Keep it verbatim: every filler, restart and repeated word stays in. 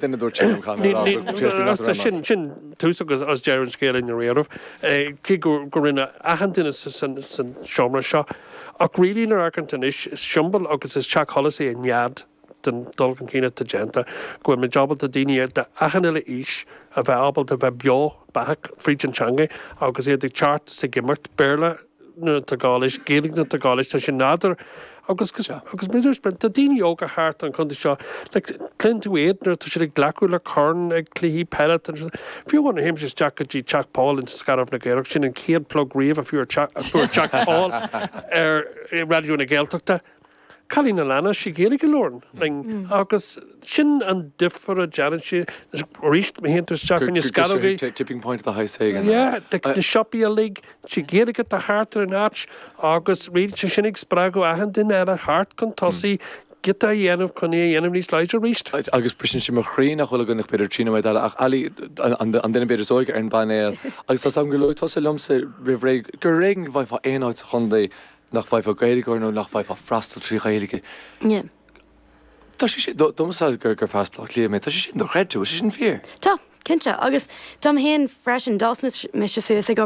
Duine dúirt sin an caithfidh sin sin tús agus as deireadh an scéil in riamh cé go go rinne achan duine san seomra seo ach really nuair a amharcann anois is siombail agus is teach solais é an nead den dul chun cinn atá déanta go bhfuil muid ábalta daoine de achan uile aois a bheith ábalta bheith beo beathach fríd an teanga agus iad ag teacht is ag imirt Béarla nuair atá gá leis Gaeilge nuair atá gá leis tá sé nádúr agus agus muid tá daoine óga thart an chontae seo like cluineann tú iad nuair atá siad ag glacadh le corn ag cluichí peile fiú amháin théimse isteach go dtí Teach Pobail in Scairbh na gCaorach sin an chéad plug riamh a fuair fuair Teach Pobail ar Raidió na Gaeltachta. Cailín na Leanna sí Gaeilge labhrann agus sin an difear a déanann sé arís má théann tú isteach in Scairbh tipping point de shaghas éigin. Yeah, na siopaí uilig sí Gaeilge atá thart ar an áit agus ríd sé sin ag spreagadh achan duine eile thart chun tosaigh giota a dhéanamh chun é a dhéanamh níos láidre arís. Agus briseann sé mo chroí nach bhfuil againn ach b'fhéidir trí nóiméad eile ach Ali an duine b'fhéidir is óige ar an bpainéal agus tá agam gur luaigh tusa liomsa roimh ré gur ar éigean go bhfaighfeá aon áit sa chontae nach bhfaighfeá Gaeilgeoir nó nach bhfaighfeá freastal trí Ghaeilge. Yeah. Tá sé sin domsa gur gur fear Bleá Cliath mé, tá sé sin dochreidte, sé sin fíor. Tá, cinnte, agus dom féin freisin d'fhás mise suas ag